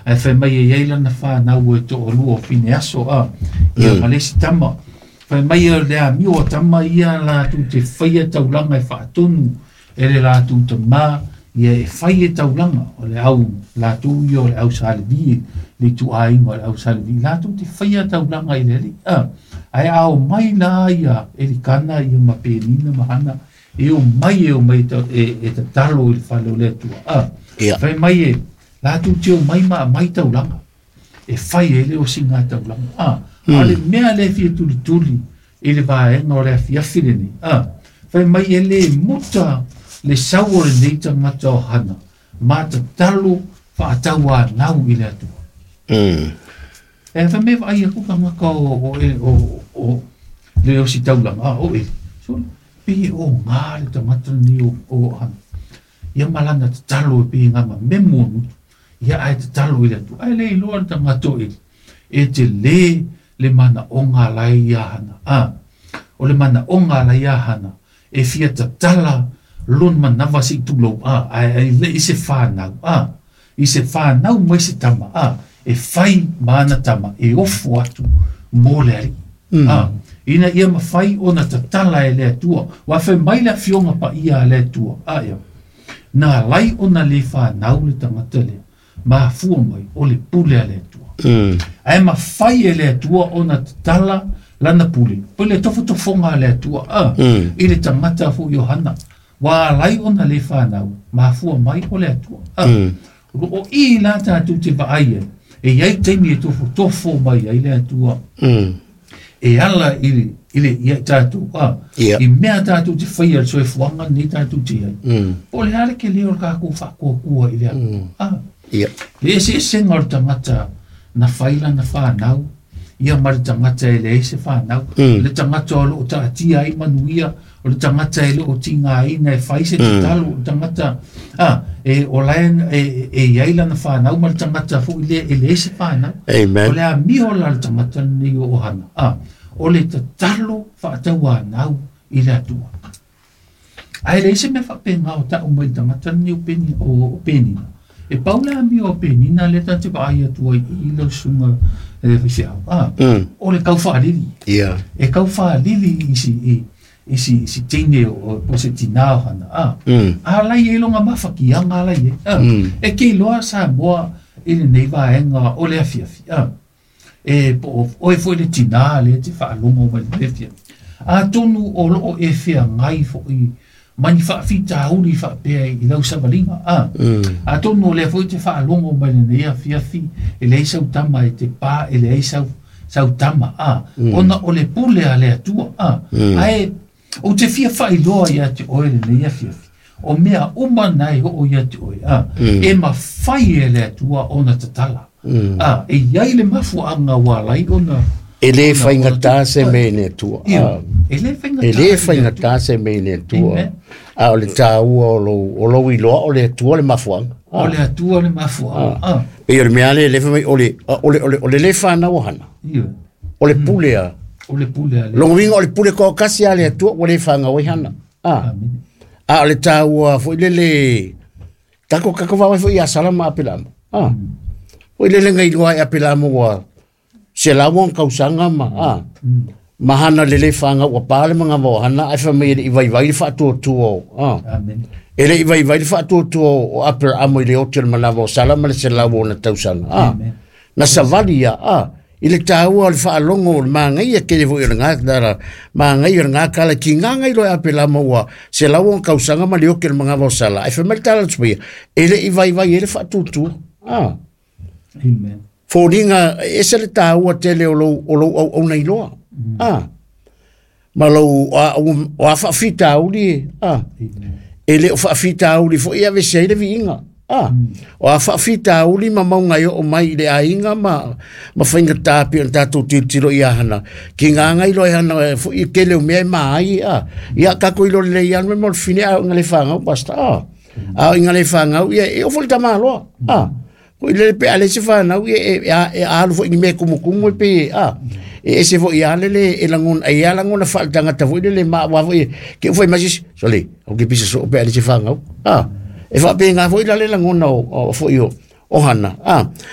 Ae fai mai e i ai lana fanau e toalua o Fineaso, a, ia ma le isi tama. Fai mai o le amio a tama ia latou te faia taulaga e faatonu e le latou tamā, ia e fai e taulaga, o le au latou ia o le au Sa Levi, le ituaiga o le au Sa Levi, latou te faia taulaga i le Alii, a. Ae a omai la ia Elikana ia ma Penina ma Hana, e omai e omai e tatalo i le fale o le Atua, a. Fai mai e latou te omai ma aumai taulaga, e fai ai le osiga taulaga, a. A o le mea lea e fia tulituli i le vaega o le afiafi lenei, a. Fai mai e le muta le sau o lenei tagata o Hana ma tatalo faatauanau i le Atua. E fai mai vaai aku tagata o le osi taulaga, a o Eli. So, pei e oga le tagata lenei o Hana. Ia ma lana tatalo e pei e gama memu o gutu. Ia ae tatalo i le Atua. Ae le iloa le tagata o Eli. E tele le manaoga la e ia Hana. A, o le manaoga la ia Hana, e fia tatala lona manava se i tulou, a, ae le i se fanau, a, i se fanau mai se tama, a, e fai ma ana tama, e ofo atu mo le Alii. A, ina ia mafai ona tatala e le Atua. Ua fai mai le afioga paia a le Atua, a ia, na alai ona le fanau le tagata lea, mafua mai o le pule a le Atua. Ae mafai e le Atua ona tatala lana pule, po le tofotofoga a le Atua, a, i le tagata foi o Hana. Ua alai ona le fanau, mafua mai o le Atua. A, o i la tatou te vaai ai, e i ai taimi e tofotofo mai ai le Atua. E ala i le ia tatou, a, i mea tatou te faia le soifuaga lenei tatou te ai. Po o le a le tele o le tatou faatuatua i le Atua. A, le eseesega o le tagata na fai lana fanau, ia ma le tagata e leai se fanau, le tagata o loo taatia ai manuia, o le tagata e le o tigaina e fai se tatalo, o le tagata a e o la e i ai lana fanau ma le tagata foi lea e leai se fanau. Amen. O le amio la le tagata lenei o Hana, a, o le tatalo faatauanau i le Atua. Ae leai se mea faapena o tau mai le tagata lenei o Peni, o Penina. E pau le amio o Penina lea tatou te vaai atu ai i lau susuga e faifeau. A, o le taufaalili. E taufaalili i si i si teine o po se tinā o Hana. A, a lai e longa mafakiaga ala i ai. A, e ke iloa Samoa i lenei vaega o le afiafi. A, e po o oe foi le tinā lea te faalogo mai le afiafi. Atonu o loo e feagai foi ma ni faafitauli faapea i lau savaliga. A, atonu o lea foi te faalogo mai lenei afiafi e leai sau tama e te pa, e leai sau tama, a, ona o le pule a le Atua. A, ae ou te fia faailoa ia te oe lenei afiafi, o mea uma na e oo ia te oe, a, e mafai e le Atua ona tatala. A, e i ai le mafuaaga ua alai ona E le faigata se mea i le Atua. Ia, e le faigata. E le faigata se mea i le Atua. Amen. A o le taua o lou iloa o le Atua le mafuaaga. O le Atua le mafuaaga. A. Pei o le mea lea le fai mai o le le fanau o Hana. Ia. O le pule a. O le pule a le. Lona uiga o le pule toatasi a le Atua ua le fanau ai Hana. A. Amen. A o le taua foi lele tatou vaai foi ia Sala ma Apelama. A. Foi lele ngai iloa e Apelama ua 100 ona tausaga ma a. Ma Hana le le fanau ua pa le manava o Hana ae fai mai e le i vaivai le faatuatua o a. Amen. E le i vaivai le faatuatua o Aperamo i le ote o le manava o Sala ma le 100 ona tausaga. A. Amen. Na savali ia, a. I le taua o le faalogo o le magaia tele foi o le gā, magaia o le gā tala ki ngā ngai loa e Apelama ua 100 ona tausaga ma le ote o le manava o Sala. Ae fai mai le tala a le Tupaia, e le i vaivai e le faatuatua. A. Amen. Foliga e ese le taua tele o lou auauna iloa. A. Ma lou o a faafitauli e, a. E le o faafitauli foi e avese ai le viiga. A. O a faafitauli ma mauga e oo mai i le aiga ma faigata pei ona tatou tilotilo ia Hana. Ki ngā ngai loa e Hana e foi e tele o mea e maai, a. Ia tatou iloa lelei ia me mo le fine a o inga le whangau, pastor. A. A o inga le whangau, ia e ofo le tamaloa. A. Ko i lele pe a le se whanau, ia e alu foi ni mea kumukumu e pe, a. E ese foi ia lele e langona, e ia langona whaletangata foi lele ma wa foi, ke ufai masis, sole, o ke pisa so pe a le se whangau. A. E wha pe ngā foi la le langona o foi o Hana. A.